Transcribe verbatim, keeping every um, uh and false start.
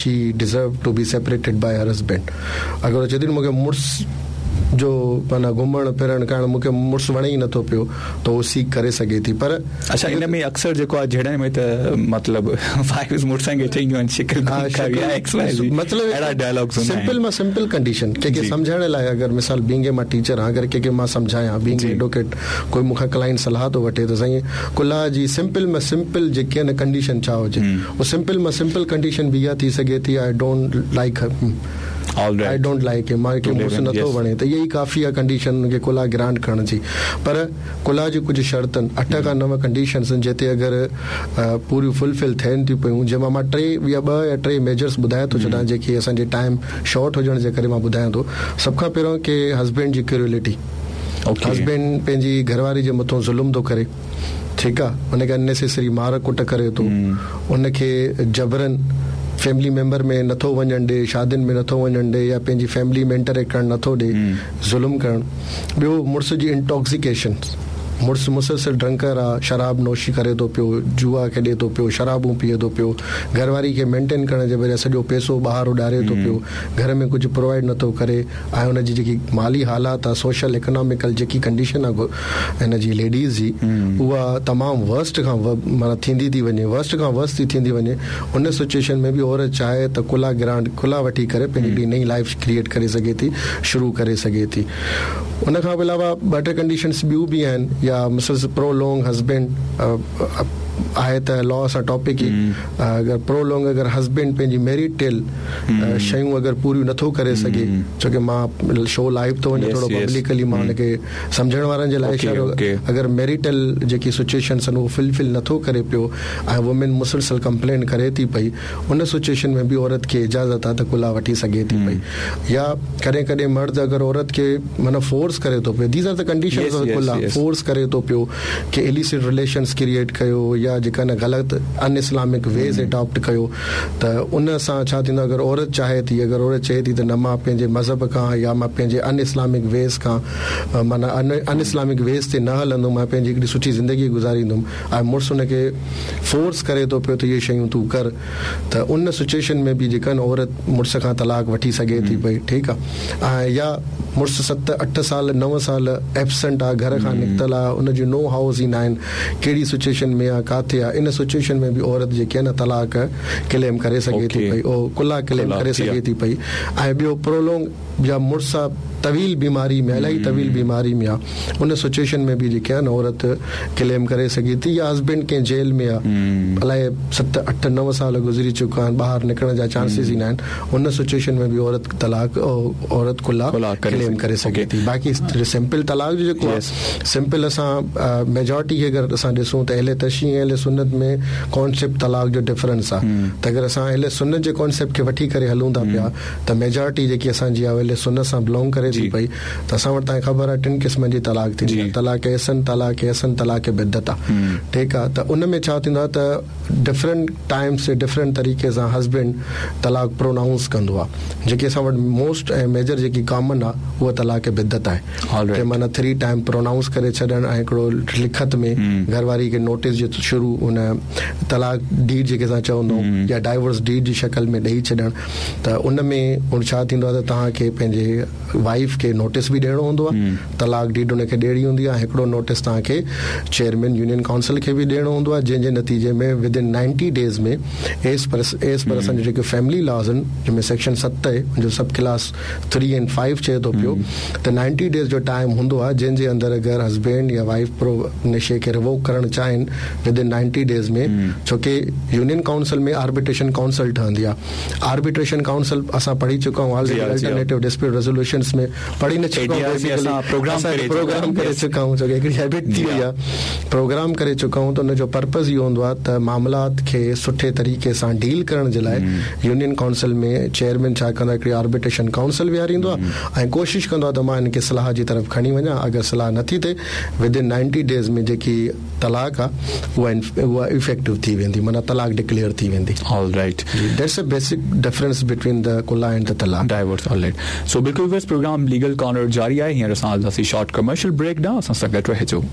She deserve to be separated by her husband. اگر چئي ٿي مون کي مڙس جو معنيٰ گهمڻ ڦرڻ ڪرڻ مون کي مڙس وڻي ئي نٿو پيو ته اهو سيڪ ڪري سگهي ٿي. پر اڇا ان ۾ اڪثر جيڪو آهي جهيڙن ۾ ته مطلب وائيفز مڙسن کي چئينديون آهن شڪل مطلب اهڙا ڊائلاگس هوندا آهن. سمپل مان سمپل ڪنڊيشن ڪنهن کي سمجهائڻ لاء اگر مثال بينگ مان ٽيچر آهيان اگر ڪنهن کي مان سمجهايان بينگ ايڊووڪيٽ ڪوئي مون کان ڪلائنٽ صلاح ٿو وٺي ته سائين ڪلا جي سمپل مان سمپل جيڪي آهن ڪنڊيشن ڇا هجي اهو سمپل مان سمپل ڪنڊيشن به اها ٿي سگهي ٿي I don't like I don't like him مان کي مڙس نٿو وڻي ته اها ئي ڪافي آهي ڪنڊيشن ان کي ڪلا گرانٽ ڪرڻ جي. پر ڪلا جي ڪجهه شرطن اٺ کان نو ڪنڊيشنس آهن جتي اگر پوريون فلفل ٿين ٿيون پيون جنهن مان مان ٽي يا ٻه يا ٽي ميجرس ٻڌايان ٿو ڇڏان جيڪي اسان جي ٽائيم شارٽ هجڻ جي ڪري مان ٻڌايان ٿو. سڀ کان پهريون ڪي هسبينڊ جي ڪريولٽي، هسبينڊ پنهنجي گهرواري جي مٿان ظلم ٿو ڪري، ٺيڪ آهي، ان کي اننيسيسري مار ڪٽ ڪري ٿو، ان کي جبرن فيملي ميمبر ۾ نٿو وڃڻ ڏي، شادين ۾ نٿو وڃڻ ڏي يا پنهنجي فيملي ۾ انٽريڪٽ ڪرڻ نٿو ڏي، ظلم ڪرڻ. ٻيو مڙس جي انٽاڪسيڪيشن، مڙس مسلسل ڊرنڪر آهي، شراب نوشي ڪري ٿو پيو، جوا کيڏي ٿو پيو، شرابون پيئي ٿو پيو، گهر واري کي مينٽين ڪرڻ جي بجاءِ سڄو پئسو ٻاهر اڏاري ٿو پيو، گهر ۾ ڪجهه پرووائيڊ نٿو ڪري ۽ هن جي جيڪي مالي حالات آهي، سوشل اڪناميڪل جيڪي ڪنڊيشن آهي هن جي ليڊيز جي اها تمام ورسٽ کان معنيٰ ٿيندي ٿي وڃي، ورسٽ کان ورسٽ ٿي ٿيندي وڃي. ان سچوئيشن ۾ به عورت چاهي ته ڪلا گرانٽ ڪلا وٺي ڪري پنهنجي هڪڙي نئين لائيف ڪريئيٽ ڪري سگهي ٿي، شروع ڪري سگهي ٿي. ان کان علاوه ٻه ٽي ڪنڊيشنس ٻيون به آهن يا مسز پرولونگ هسبينڊ آهي ته لا سان ٽاپڪ ئي، اگر پرولونگ اگر هسبينڊ پنهنجي ميريٽل شيون اگر پوريون نٿو ڪري سگهي، ڇو ڪه مان شو لائيو ٿو وڃي ٿورو پبلڪلي مان هن کي سمجهڻ وارن جي لاءِ اشارو، اگر ميريٽل جيڪي سچوئيشنس آهن اهو فلفل نٿو ڪري پيو ۽ وومين مسلسل ڪمپلين ڪري ٿي پئي، ان سچوئيشن ۾ به عورت کي اجازت آهي ته ڪلا وٺي سگهي ٿي پئي. يا ڪڏهن ڪڏهن مرد اگر عورت کي معنيٰ فورس ڪري ٿو پيو، these are the conditions of خلع، فورس ڪري ٿو پيو ڪه اليسٽ رليشنس ڪريئيٽ ڪيو يا جيڪا نه غلط ان اسلامڪ ويز اڊاپٽ ڪيو ته ان سان ڇا ٿيندو اگر عورت چاهي ٿي، اگر عورت چئي ٿي ته نه مان پنهنجي مذهب کان يا مان پنهنجي ان اسلامڪ ويز کان معنيٰ ان اسلامڪ ويز تي نه هلندم، مان پنهنجي هڪڙي سٺي زندگي گذاريندم ۽ مڙس ان کي فورس ڪري ٿو پيو ته اهي شيون تون ڪر، ته ان سچوئيشن ۾ به جيڪا نه عورت مڙس کان طلاق وٺي سگهي ٿي پئي، ٺيڪ آهي. ۽ يا مڙس ست اٺ سال نو سال ايبسنٽ آهي، گهر کان نڪتل آهي، ان جون نو هائوس ئي نه آهن، ڪهڙي سچوئيشن ۾ آهي، ڪاٿي آهي، ان سچوئيشن ۾ به عورت جيڪي آهي نه طلاق ڪليم ڪري سگهي ٿي پئي، اهو ڪلا ڪليم ڪري سگهي ٿي پئي. ۽ ٻيو پرولونگ يا مڙس طويل بيماري ۾ الاهي طويل بيماري ۾ آهي، ان سچوئيشن ۾ به جيڪي آهي نه عورت ڪليم ڪري سگهي ٿي. يا هسبينڊ ڪنهن جيل ۾ آهي، الاهي ست اٺ نو سال گذري چڪا آهن، ٻاهر نڪرڻ جا چانسز ئي نه آهن، ان سچوئيشن ۾ به عورت طلاق عورت ڪلا ڪليم ڪري سگهي ٿي. باقي سمپل طلاق جو جيڪو آهي سمپل اسان ميجارٽي کي اگر اسان ڏسون ته اهل تشيع ۽ اهل سنت ۾ ڪانسيپٽ طلاق جو ڊفرنس آهي، ته اگر اسان اهل سنت جي ڪانسيپٽ کي وٺي ڪري هلون ٿا پيا ته ميجارٽي جيڪي اسان جي آهي اهل سنت سان بلانگ ڪري ٿي پئي، ته اسان وٽ توهان کي خبر آهي ٽن قسمن جي طلاق ٿيندي آهي، طلاق احسن، طلاق احسن، طلاق بدعت آهي، ٺيڪ آهي. ته ان ۾ ڇا ٿيندو آهي ته ڊفرنٽ ٽائمس تي ڊفرنٽ طريقي سان هسبينڊ طلاق پرونائونس ڪندو آهي. جيڪي اسان وٽ موسٽ ۽ ميجر جيڪي ڪامن آهي اها طلاق بدعت آهي، ڪي معنيٰ ٿري ٽائيم پرونائونس ڪري ڇڏڻ ۽ هڪڙو لکت ۾ گهر واري کي نوٽيس جو شروع ان طلاق ڊيڊ جيڪي اسان چوندا آهيون يا ڊائيورس ڊيڊ جي شڪل ۾ ڏيئي ڇڏڻ. ته ان ۾ ڇا ٿيندو آهي ته توهان کي پنهنجي وائيف کي نوٽيس به ڏيڻو هوندو آهي، طلاق ڊيڊ ان کي ڏيڻي هوندي آهي، هڪڙو نوٽيس توهان کي چيئرمين يونين ڪائونسل کي به ڏيڻو هوندو آهي، جنهن جي نتيجي ۾ with in ninety days ۾ as per as per اسان جا جيڪي فيملي لاز آهن جنهن ۾ سيڪشن ست آهي ان جو sub clause three and five چئي ٿو پيو ته نائنٽي ڊيز جو ٽائيم هوندو آهي جنهن جي اندر اگر هسبينڊ يا وائيف پرو ان شيءِ کي ريووڪ ڪرڻ چاهين ود ان نائنٽي ڊيز ۾، ڇو ڪه يونين ڪائونسل ۾ آربيٽريشن ڪائونسل ٺهندي آهي. آربيٽريشن ڪائونسل اسان پڙهي چڪا آهيون آلريڊي، الٽرنيٽو ڊسپيوٽ ريزوليوشنس ۾ پڙهي نه چڪا آهيون، پروگرام ڪري چڪا آهيون، ڇو ڪه هڪڙي هيبٽ ٿي وئي آهي، پروگرام ڪري چڪا آهيون. ته ان جو پرپز اهو هوندو آهي ته معاملات کي سٺي طريقي سان ڊيل ڪرڻ جي لاءِ يونين ڪائونسل ۾ چيئرمين ڇا ڪندو آهي، هڪڙي آربيٽريشن ڪائونسل ويهاريندو آهي ۽ ڪوشش ڪندو آهي ته مان هن کي صلاح جي طرف کڻي وڃان، اگر صلاح نٿي ٿئي ود ان نائنٽي ڊيز ۾ جيڪي طلاق آهي اها اها افيڪٽو ٿي ويندي، معنيٰ طلاق ڊڪليئر ٿي ويندي. All right, that's a basic difference between the خلع and the talaq, divorce. All right, so بلڪل ويس پروگرام ليگل ڪارنر جاري آهي. هينئر اسان هلنداسين شارٽ ڪمرشل بريڪ ڏانهن، اسان سان گڏ رهجو.